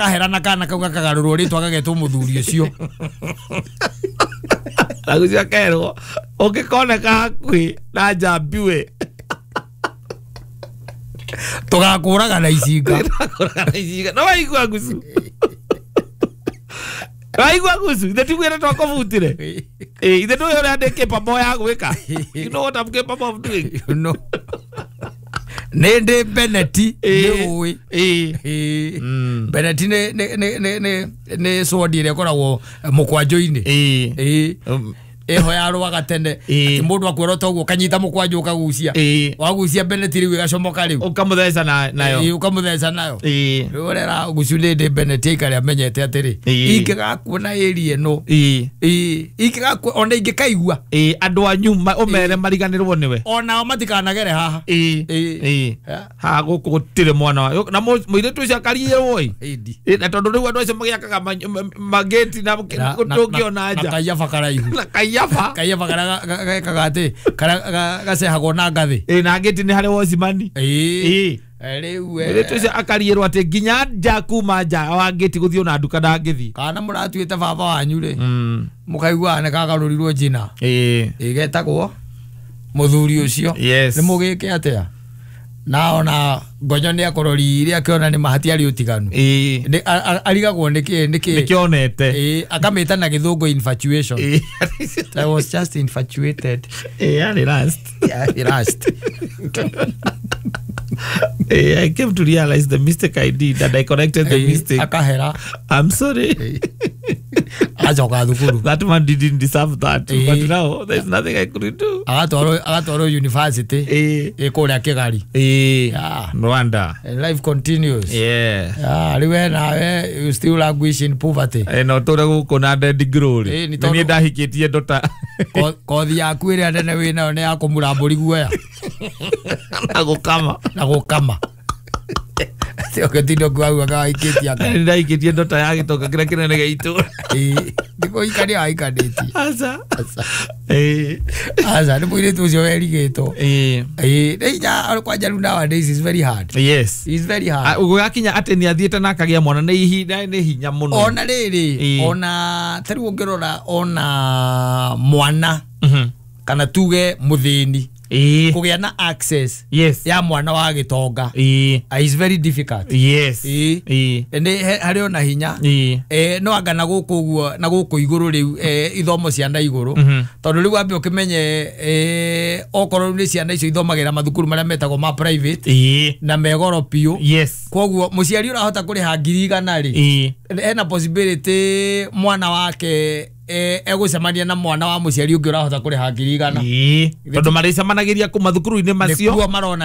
Ahera na kana kau gakagarũrwo rĩtwa gagetwo mũthuri ũcio. Agucio akerwo ũngĩkoneka hakuhĩ na njambiwe tũgakũraga na icinga. No waigua ngucu. Waigua ngucu ithe tiguĩre twakũbutire. Ithe ndũĩ ũrĩa ndĩ capable ya gwĩka. You know what I'm capable of doing. You know. Nĩ ndĩ Beneti nĩ ũĩ. Beneti nĩ sword ĩrĩa ĩkoragwo mũkwanjũ-inĩ. Ĩho yarũaga tene atĩ mũndũ akuora toguo kanyita mũkwanjũ ũkagucia. Wagucia Beneti rĩu ĩgacomoka rĩu. Ũkamũtheca nayo. Ũkamũtheca nayo. Rĩu ũrera gucu nĩ ndĩ Beneti aikare amenyete atĩrĩ ingĩgakuona area ĩno. Ingĩgakuona ona ingĩkaigua. Andũ anyu ũmere mariganĩrwo nĩwe. Onao matikanagere haha. Haha gũkũ gũtirĩ mwana wa na mũirĩtu ũcio akariĩrwo ĩ. Na tondũ rĩu andũ acio magĩakaga magĩti na tũngĩona nja. Na kaiyaba karaihu. Na kaiyaba. Kaiyaba karĩa gekaga atĩ karĩa gacehagwo na ngathĩ. Na ngĩti nĩ harĩ wocimani. Rĩu mũirĩtu ũcio akariĩrwo atĩ nginya nja kuma nja wa ngĩti gũthiĩ ona nduka ndangĩthiĩ. Kana mũratuĩte baba wanyu rĩ mũkaiguaga nĩ kagarũrirwo njina. Ĩgetagwo mũthuri ũcio. Nĩ mũgĩke atĩa? Na ona ngonyo nĩ akũroririe akĩona nĩ ma hatiarĩ ũtiganu. Arigagwo nĩkĩ nĩkĩonete. Akamĩta na gĩthũngũ infatuation. I was just infatuated. Yarĩ last. Yarĩ last. I came to realize the mistake I did and I corrected the mistake. Akahera. I'm sorry. Acoka thukuru. That man didn't deserve that. But now there's nothing I could do. Agatwarwo university. Kũrĩa Kĩgari. Rwanda. And life continues. Yeah. Rĩu nawe you still languish in poverty. No tũre gũkũ na dead glory. Nĩ niĩ ndahikĩtie ndota. Kothi yaku ĩrĩa nene wĩnayo nĩ ya kũmura mbũri guoya. Na gũkama. Na gũkama. Ũgĩtinda ũkiuga waikĩtie anga. Nĩ ndaikĩtie ndota ya gĩtonga kĩrĩa kĩnene gĩa itũũra. Nĩ kũhikania wahikanĩtie. Aca. Aca nĩ mũirĩtu ũcio werigĩtwo. Nĩ hinya kwanja rĩu nowadays is very hard. Yes. It's very hard. Gũgakinya atĩ nĩ athiĩte na akagĩa mwana nĩ ihinda nĩ hinya mũno. Ona rĩrĩ ona ta rĩu ũngĩrora ona mwana kana tuge mũthĩni kũgĩa na access ya mwana wa gĩtonga is very difficult. Yes. Nĩ harĩ ona hinya. No anga na gũkũ ũguo na gũkũ igũrũ rĩu ithomo cia na igũrũ tondũ rĩu wambe ũkĩmenye okorwo nĩ ciana icio ithomagĩra mathukuru marĩa metagwo ma private na megoro biũ. Yes. Koguo mũciari ũrahota kũrĩha 100,000 rĩ ena possibility mwana wake egũcemania na mwana wa mũciari ũngĩ ũrahota kũrĩha 100,000. Tondũ marĩcemanagĩria kũ mathukuru-inĩ macio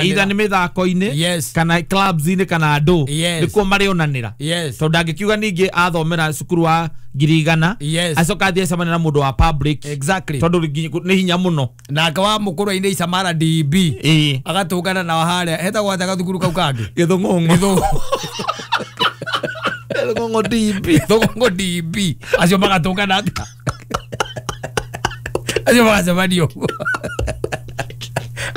either nĩ mĩthako-inĩ kana clubs-inĩ kana andũ nĩkuo marĩonanĩra. Tondũ ndangĩkiuga ningĩ athomera cukuru wa 100,000 acoka athiĩ acemania na mũndũ wa public. Exactly. Tondũ nĩ hinya mũno. Nake wa mũkũrũ-inĩ Isamara DB agatũngana nao harĩa hetagwo atĩa gathukuru kau kangĩ? Gĩthũng'ũng'ũ. Gĩthũng'ũng'ũ DB. Gĩthũng'ũng'ũ DB. Acio magatũngana atĩa? Acio magacemania ũguo.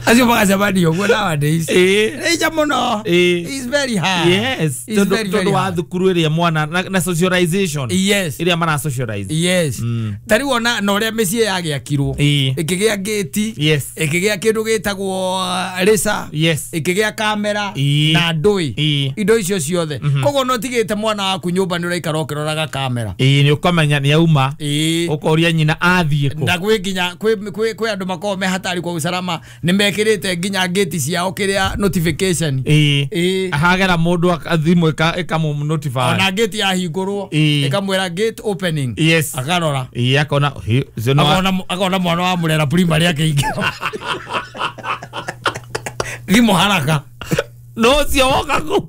Acio magacemania ũguo nowadays. Nĩ hinya mũno. It's very hard. Yes. Tondũ wa thukuru ĩrĩa mwana na socialization. Yes. Ĩrĩa mara socialize. Yes. Ta rĩu ona na ũrĩa mĩciĩ yagĩakirwo. Ĩkĩgĩa gĩti. Yes. Ĩkĩgĩa kĩndũ gĩtagwo rĩca. Yes. Ĩkĩgĩa kamera na ndũĩ. Indo icio ciothe. Koguo no tigĩte mwana waku nyũmba nĩ ũraikara ũkĩroraga kamera. Nĩ ũkamenya nĩ auma. Ũkoria nyina athiĩ kũ. Na gwĩ nginya kwĩ andũ makoragwo me hatari kwa usalama nĩ mekĩrĩte nginya ngĩti ciao kĩrĩa notification. Hagera mũndũ thimũ ĩkamũ notify. Ona ngĩti yahingũrwo ĩkamwĩra gate opening. Yes. Akarora. Akona akona mwana wa Murera primary akĩingĩra. Thimũ haraka. No ũcio woka kũ?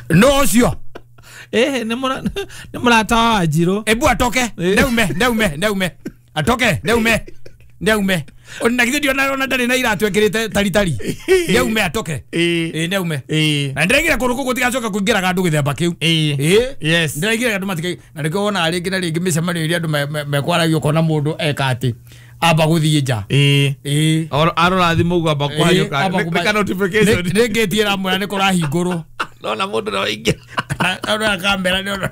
No ũcio. Nĩ mũrata wa Wanjirũ. Ebu atoke. Neume. Atoke, neume. Ona githĩ ndiona ona ndarĩ na iratũ ekĩrĩte taritari. Neume atoke. Neume. Na ndĩraigire kũndũ kũu gũtigacoka kũingĩraga andũ gĩthemba kĩu. Yes. Ndĩraigire andũ matikai na nĩkĩo wonaga rĩngĩ na rĩngĩ mĩcemanio ĩrĩa andũ mekwaragia ũkona mũndũ eka atĩ amba gũthiĩ nja. Arora thimũ ũguo amba kũhanyũka. Nĩ ka notification. Nĩ ngĩti ĩramwĩra nĩ kũrahingũrwo. Nona mundu no ingi. Na kamera ni ona.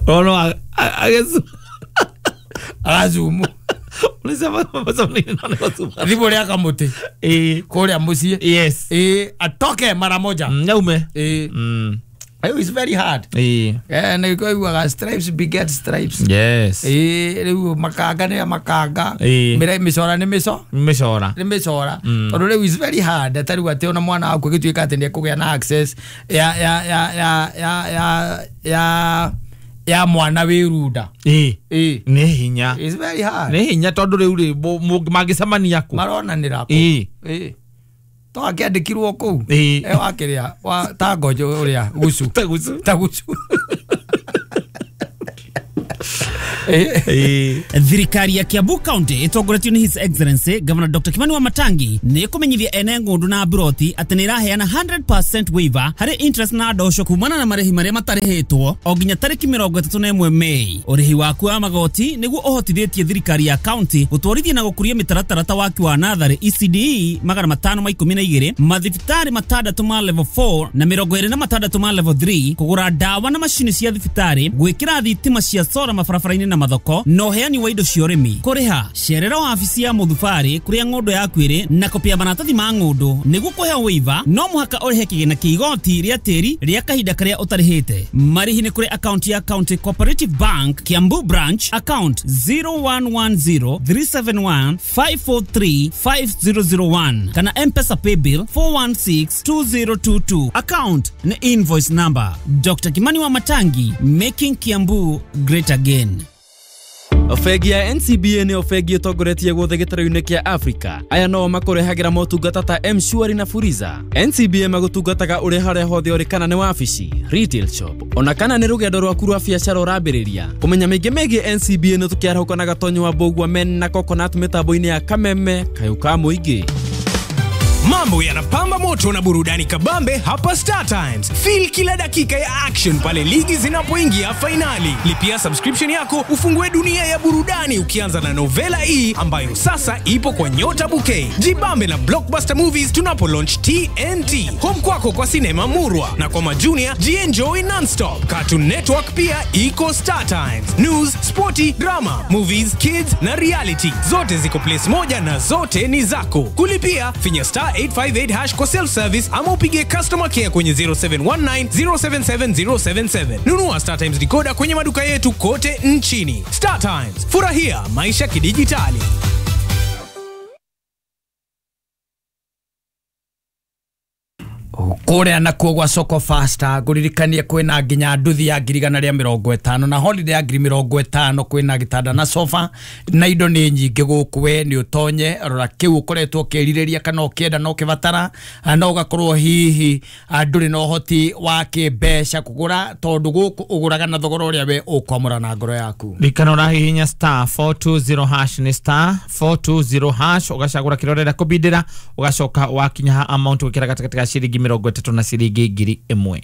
Ono agezu. Azumu. Ulisema nini na zumu. Thimu ria kamuti. Kuria mucii. Yes. Atoke mara moja. Nyaume. It is very hard. Na ikoiguaga stripes beget stripes. Yes. Riu makanga ni makanga. Micora ni micora. Ni micora. Tondu riu is very hard ta riu ati ona mwana waku agituika ati ni ekugia na access ya ya ya ya ya ya ya ya mwana wi runda. Ni hinya. It's very hard. Ni hinya tondu riu ri mangicemania ku. Maronanira ku. To akiandikirwo kuu wakiria wa ta ngojo uria gucu ta gucu ta gucu. Thirikari ya Kiambu County itongoretio ni His Excellency Governor Dr. Kimani Wamatangi ni kumenyithia ene ngundu na buroti ati ni iraheana 100% waiver hari interest na ndosho kumana na marehi maria matarihitwo o nginya tariki 31 Mei. Urihi waku wa magoti niguo uhotithitie thirikari ya county gutwarithia na gukuria mitaratara ta waki wa nathari ECDE 512 mathibitari 6 ma level 4 na 26 ma level 3 kugura ndawa na macini cia thibitari gwikira thitima cia sora mabarabara-inĩ na mathoko na uheani wa indo cia ũrĩmi. Kũrĩha cerera wabici ya mũthubarĩ kũrĩa ng'ũndũ yaku ĩrĩ na kopi ya maratathi ma ng'ũndũ nĩguo kũheo waiver no mũhaka ũrĩhe kĩgĩna kĩa igoti rĩa tĩri rĩa kahinda karĩa ũtarĩhĩte. Marĩhi nĩ kũrĩ akaunti ya County Cooperative Bank Kiambu Branch account 0110 371 543 5001 kana M-Pesa paybill 4162022 account ni invoice number. Dr. Kimani Wamatangi, making Kiambu great again. Bengi ya NCBA nĩyo bengi ĩtongoretie guothe gĩtarũ-inĩ kĩa Africa. Aya no makũrehagĩra motungata ta M-Shwari na Fuliza. NCBA magũtungataga ũrĩ harĩa hothe ũrĩ, kana nĩ wabici, retail shop, ona kana nĩ rũgendo rwaku rwa biacara ũrambĩrĩria. Kũmenya maingĩ megiĩ NCBA nĩ tũkĩarahũka na Gatonyo wa Mbũgua Men na Coconut mĩtambo-inĩ ya Kameme Kayũ ka Mũingĩ. Mambo yanapamba moto na burudani kabambe hapa Star Times. Feel kila dakika ya action pale ligi zinapoingia finali. Lipia subscription yako ufungue dunia ya burudani ukianza na Novela E ambayo sasa ipo kwa Nyota Bouquet. Jibambe na Blockbuster Movies tunapo launch TNT. Home kwako kwa sinema murwa na kwa majunia jienjoy nonstop. Cartoon Network pia iko Star Times. News, sporty, drama, movies, kids na reality. Zote ziko place moja na zote ni zako. Kulipia finya star 858 hash kwa self service ama upige customer care kwenye 0719 077 077. Nunua Star Times decoder kwenye maduka yetu kote nchini. Star Times, furahia maisha kidijitali. Kuria nakuo gwa soko faster nguririkanie kwina nginya nduthi ya 150 na holiday ya 50,000 kwina gitanda na sofa na indo ni nyingi guku we ni utonye rora kiu ukoretwo ukirireria kana ukienda no kibatara na ugakorwo hihi nduri na uhoti wa kimbeca kugura tondu guku uguraga na thogora uria we ukwamura na ngoro yaku. Rikana urahihinya star 420 hash ni star 420 hash ugacagura kiria urenda kubindira ugacoka wakinya amount gwikira gatagati ga ciringi 30 na ciringi 1,000.